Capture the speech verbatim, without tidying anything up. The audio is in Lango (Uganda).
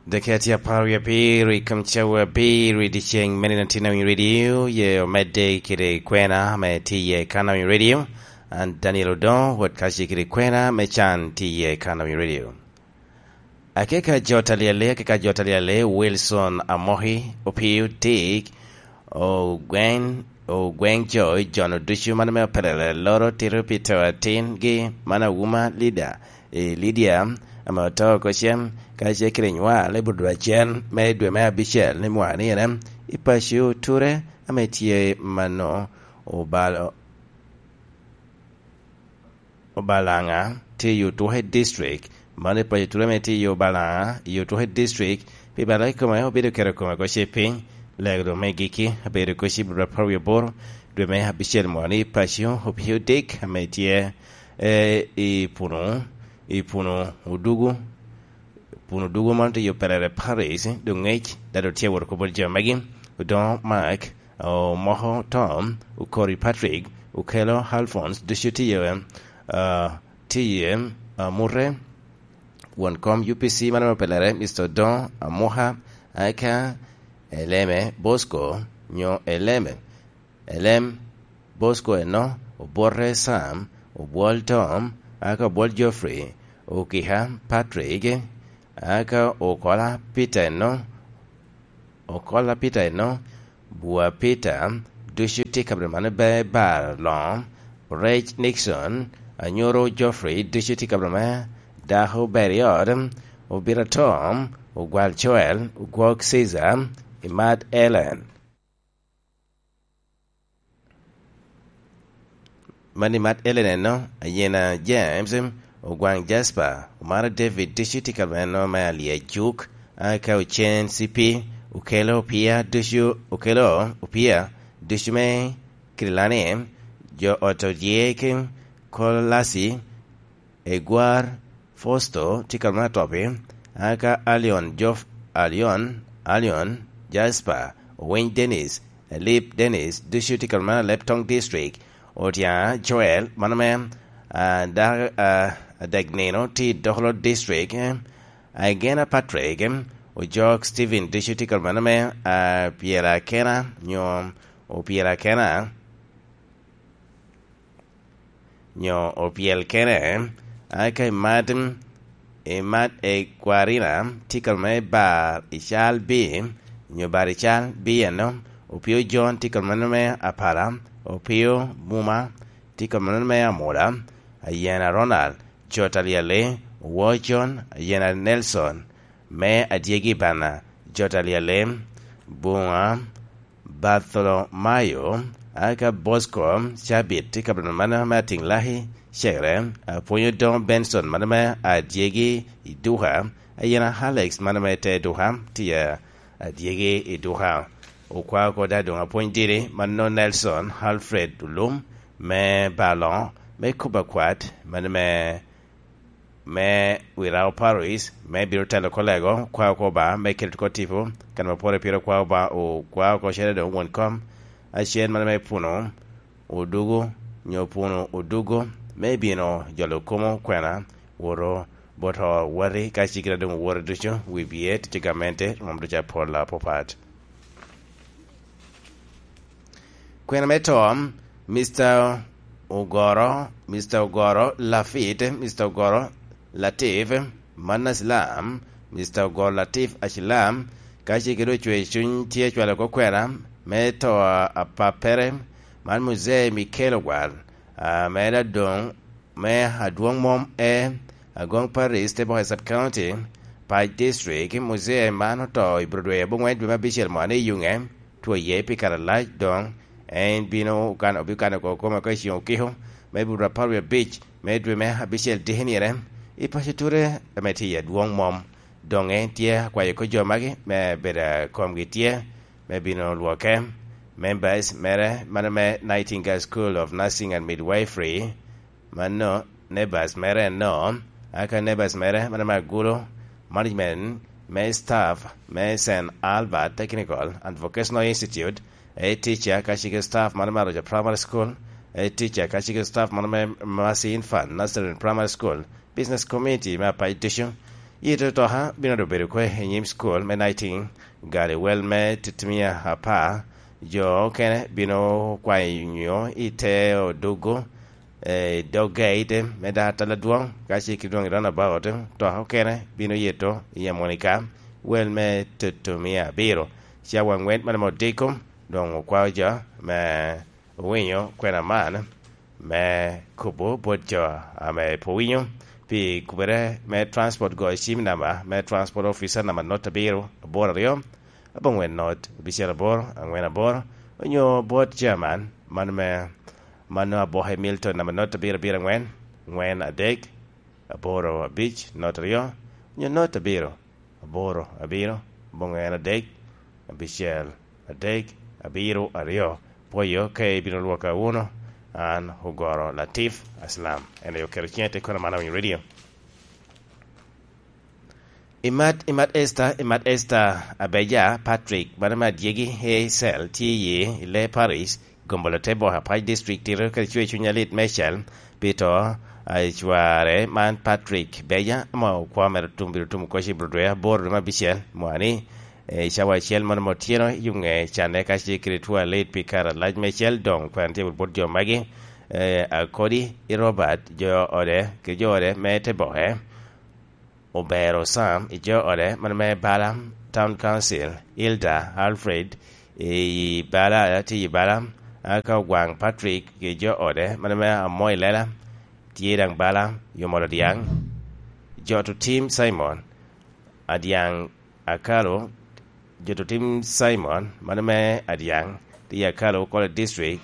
Dakika tye apar wie abiro i kom cawa abiro i dyeceŋ me nino atin awiny radio, ye omedde kede kwena me tye iye kan awiny radio. An Daniel Odongo, wot kace kede kwena me can tye iye kan awiny radio. Akeka jo talyele, akeka jo talyele, Wilson Amoki, Opio Dick, Ogwen, Ogwen Joy, John Oducu, mano me opelere loro tito pi to atingi, mano Awuma Lida, i Lydia, ame oto oko cen, ka ce kede nywal i buto acel me dwe me abicel ni mwanire, i paco Ture, ame tye mano obalo. Obalaŋa tye i Otuke District, mano i paco Ture ame tye i Obalaŋa i Otuke District, pi bala i kome obedo keto kome oko ce piny, lego doŋ me giki, abedo oko ci bro apar wie aboro, dwe me abicel moni i paco Opio Dick, ame tye, eh, i Punu, i Punu Odugu, Punu Odugu mano tye i Operere Parish, doŋ ŋec, dado tye wot kobol jo megi, Odoŋo Mark, Omoko Tom, Okori Patrick, Okelo Alphonse, ducu tye, ah, tye, ah, Mute, won kom U P C mano me pelere, Mister Odoŋo Amoka, aka Eleme Bosco, nyo Eleme, Elem Bosco eno, Obote Sam, Obwol Tom, aka Obwol Geoffrey, Okika Patrick, aka Okola Peter eno, Okola Peter eno, Bua Peter, ducu tye i kabedo man, Be-, Bar Loŋo, Rec Nixon, Anyoro Geoffrey, ducu tye i kabedo me Dako Ber i Ot, Obita Tom, Ogwal Joel, Ogwok Caesar, Imat Ellen. Mani Mat Ellen eno, Ayena James, Ogwaŋ Jasper, Omara David, ducu tye ka meno me Alia Juk, aka Ocen C P, Okelo Opia, ducu, Okelo Opia, ducu me Kirilani, jo ot Odyek, Kolasi, Egwar, Fosto, tye ka meno atopi, aka Alion, Jof, Alion, Alion, Jasper, Owiny Dennis, Elip Dennis, ducu tye ka meno Alep Tong District, Otyana Joel, mano me, ah, da-, ah, adek nino tye i Dokolo District, eh, Agena Patrick, em, Ojok Stephen, ducu tye ka meno me, ah, Pyera Kena, nyo Opyera Kena, nyo Opyel Kena, aka Imat, Imat Ekwarina, tye ka meno Bar Ical B, nyo Bar Ical B eno, Opio John, tye ka meno me Apala, Opio Buma, tye ka meno me Amola, Ayena Ronald, Jot Alyali, Owo John, Ayena Nelson, me Adyegi Bana, Jot Alyali, Bunga, Bartholomayo, aka Bosco, Cabit, tye ka meno me Atiŋ Laki, Cegere, Apwony Odoŋo Benson, mano me Adyegi i Duka, Ayena Alex, mano me Te Duka, tye Adyegi i Duka. Okwao oko da doŋ apwony diri, mano Nelson Alfred Olum, me Baloŋo, me Kuba Kwat, mano me, me Wirao Paris, me bino telo kolego, okwao oko ba, me keto ko tipo, kan ma pwore pire okwao ba, okwao oko cene doŋ won kom, acel mano me Puno, Odugo, nyo Puno Odugo, me bino jolo komo kwena, woto, boto wati, ka cigire doŋ owoto ducu, wi bye, tic gamente, mom ducu apol apapat. Kwena me to, Mister Ogoro, Mister Ogoro Lafit, Mister Ogoro Latif, Manna Silam, Mister Ogoro Latif Acilam, ka ce kede ocwe cuny tye cwalo oko kwena me to a, a pappere, man Muzee Mikel Ogwal, a, me Adong, me Adwong Mom E, Agong Paris, Teboka Sub County, Pac District, Muzee man oto i Broadway abongwen dwe me abicel mwane i Yunge, two iye pi kare alac doŋ, en bino kan-, obikano oko kome oko i ceŋ okiko, me buto apar wie abic, me dwe me abicel dikinire, i paco Ture ame tye i adwoŋ mom. Doŋ en tye akwayo oko jo magi me bedo a komgi tye, me bino lwoke, members mere, mano me Nightingale School of Nursing and Midwifery, mano nebas mere no, aka nebas mere, mano me agulu, management me staff me Saint Albert Technical and Vocational Institute, a teacher ka cege staff mano me Aroca Primary School, a teacher ka cege staff mano me Mercy Infant Nursery and Primary School, business community me apac ducu, Yito toka bino dobedo kwe i nyim school me Nighting, gali wel me titimia apar, jo okene bino kwayo nyo i te odugo, eh, dog gate me Dar Atala Dwong, ka ce ki dwong i roundabout, toka okene bino yeto i Amonika, wel me titimia abiro. Cawa angwen mane me odiko, doŋ okwao jo me owinyo kwena man me kubo bot jo ame pe owinyo pi kubere me transport. Goyo cim namba me transport officer namba not abiro aboro aryo, abongwen not, abicel aboro, angwen aboro, onyo bot chairman, mano me, mano aboke Milton namba not abiro abiro angwen, angwen adek, aboro abic, not aryo, onyo not abiro, aboro abiro, abongwen adek, abicel adek, abiro aryo. Pwoyo ka ibino lwoka wunu, an Ogoro Latif Aslam. En aye oketo ciŋe i te kono man awinyo radio. Imat, imat Esther, imat Esther Abeja Patrick, mano me adyegi Hazel, tye i Ile Parish, Gombolo te boka Apac District, tito kede cwer cuny alit meicel pi to a cware man Patrick Beja, ame okwo mere otum bino tumo koc i Bulodoya aboro dwe me abicel mwani, eh, i cawa acel mono me otyeno i Yunge Canne, ka ce kede two alit pi kare alac meicel. Doŋ kwena tye bot jo magi, eh, Akodi i Robert, jo ode, kede jo ode me te boke. Obero Sam i jo ode, mano me Bala Town Council, Hilda Alfred i Bala, tye i Bala, aka Ogwaŋ Patrick i jo ode, mano me Amo i Lela, tye daŋ Bala, Yomol Odyaŋ, Joto Tim Simon, Adyaŋ Akalo, Joto Tim Simon, mano me Adyaŋ, tye i Akalo College District,